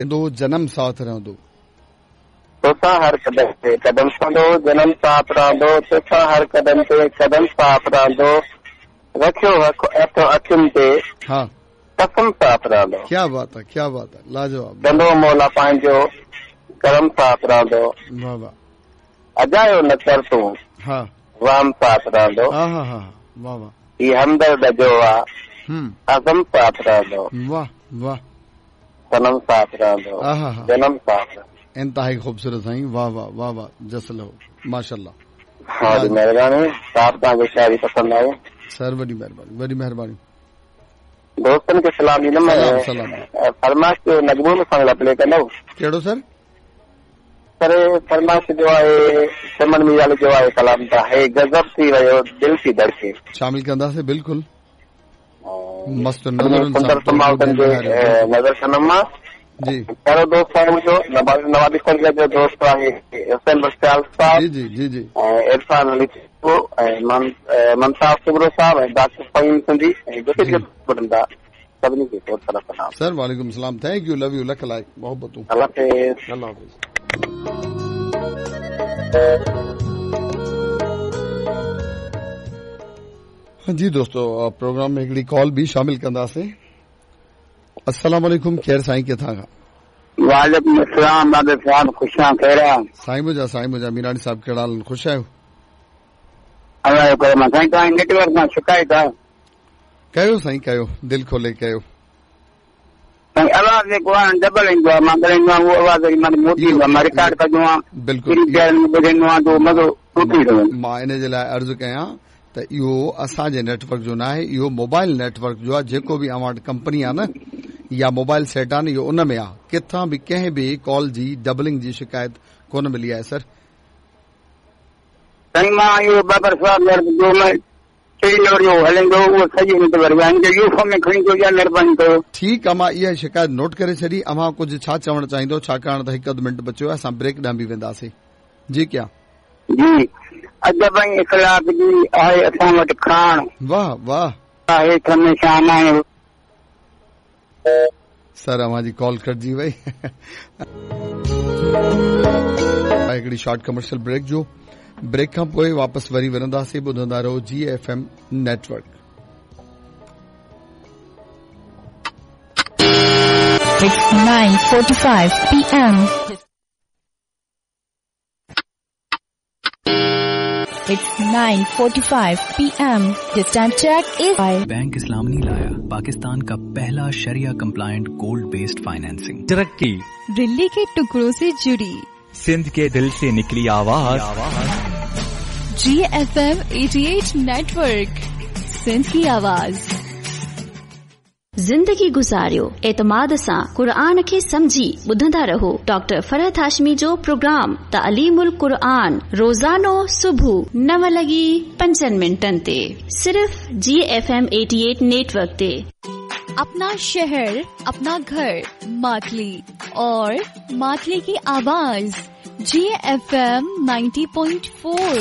दो जनम साथ रहंदो। तोसां हर कदम ते कदम संदो जनम साथ रहंदो, तोसां हर कदम ते कदम साथ रहंदो, रखियो हथ अखियुनि ते हा कसम साथ रहंदो। क्या बात आहे, क्या बात आहे, लाजवाब। कंदो मौला पंहिंजो करम साथ रहंदो, वाह वाह। अजायो न कर तूं हा वाम साथ रहंदो, हा हा हा वाह वाह। ही हमदर्द जो आहे अज़म साथ रहंदो, वाह वाह। सनम साथ रहंदो, जनम साथ। इंतहाई ख़ूबसूरत साईं, वाह वाह वाह वाह, जस लहो माशाअल्लाह। हा जी महिरबानी साहब, तव्हांजी शाइरी पसंदि आई। सर वॾी महिरबानी, वॾी महिरबानी। दोस्तनि खे सलाम ॾींदुमि। सलाम। फरमाइश जो नगमो मूंसां लाइ प्ले कंदव? कहिड़ो सर? सर फरमाइश जो आहे चमन मीराल जो आहे कलाम त हे गज़ब थी वियो दिल थी धड़के। शामिल कंदासीं बिल्कुलु। मस्त नज़रुनि सां नज़र सनम मां जी। प्यारो दोस्त आहे मुंहिंजो नवाबी संघ जो दोस्त आहे हुसैन बख्तियार साहब जी जी जी जी, ऐं इरफान अली ऐं ममताज़ सुगरो साहब ऐं डॉक्टर फ़हीम सिंधी ऐं जेके जेके ॿुधनि था सभिनी खे बहुत सारा सलाम। सर वालेकुम सलाम, thank you, love you, lakh लाइक मोहब्बतूं। अल्लाह हाफ़िज़। अल्लाह हाफ़िज़। जी दोस्तों, प्रोग्राम में हिकिड़ी कॉल बि शामिल कंदासीं। अस्सलाम वालेकुम, खैर साईं किथां खां? वालेकुम अस्सलाम, दादा साहब ख़ुशि आहियाँ, ख़ैर आहे? साईं मुंहिंजा, साईं मुंहिंजा, मीरानी साहब कहिड़ा हाल, ख़ुशि आहियो? अल्लाह जो करम आहे साईं, तव्हांजी नेटवर्क मां शिकायत आहे। कयो साईं कयो, दिलि खोले कयो। साईं आवाज़ जेको आहे डबल ईंदो आहे, मां ॻाल्हाईंदो आहियाँ उहो आवाज़ वरी मां मोटी ईंदो आहे, मां रिकॉर्ड कंदो आहियाँ बिल्कुलु, ॿुधंदो आहियाँ त उहो मज़ो टुटी थो वञे। मां इन जे लाइ अर्ज़ु कयां त इहो असांजे नेटवर्क जो न आहे, इहो मोबाइल नेटवर्क जो आहे। जेको बि अव्हां वटि कंपनी आहे न या मोबाइल सेट आहे न, इहो उन में आहे। किथां बि कंहिं बि कॉल जी डबलिंग जी शिकायत कोन मिली आहे सर। साईं मां इहो बाबर साहब जो हलंदो उहो सॼो नेटवर्क आहे, हिनखे यूफो में खणी अचो या महिरबानी कयो। ठीकु आहे, मां इहा शिकायत नोट करे छॾी। अव्हां कुझु छा चवणु चाहींदो, छाकाणि त हिकु अधु मिंट बचियो आहे, असां ब्रेक ॾांहुं बि वेंदासीं। जी क्या जी, अदब ऐं इख़लाक जी आहे असां वटि खाण, वाह वाह, आहे हमेशा आहे। सर अव्हांजी कॉल कटिजी वई। हिकिड़ी शॉर्ट कमर्शियल ब्रेक जो, ब्रेक खां पोइ वापसि वरी वरंदासीं। ॿुधंदा रहो G F M network. It's 9:45 PM. It's 9:45 PM. This time check is bank Islami लाया पाकिस्तान का पहला शरिया कंप्लायंट गोल्ड बेस्ड फाइनेंसिंग। तरक्की दिल्ली के टुकड़ों से जुड़ी, सिंध के दिल से निकली आवाज, GFM 88 network, Sindh की आवाज। ज़िंदगी गुज़ारियो एतमाद सां, कुरान खे सम्झी ॿुधंदा रहो। डॉक्टर फरहत हाशमी जो प्रोग्राम तालीमुल कुरान रोज़ानो सुबुह 9:05 ते सिर्फ़ GFM 88 network ते। अपना शहर अपना घर मातली और मातली की आवाज GFM 90.4।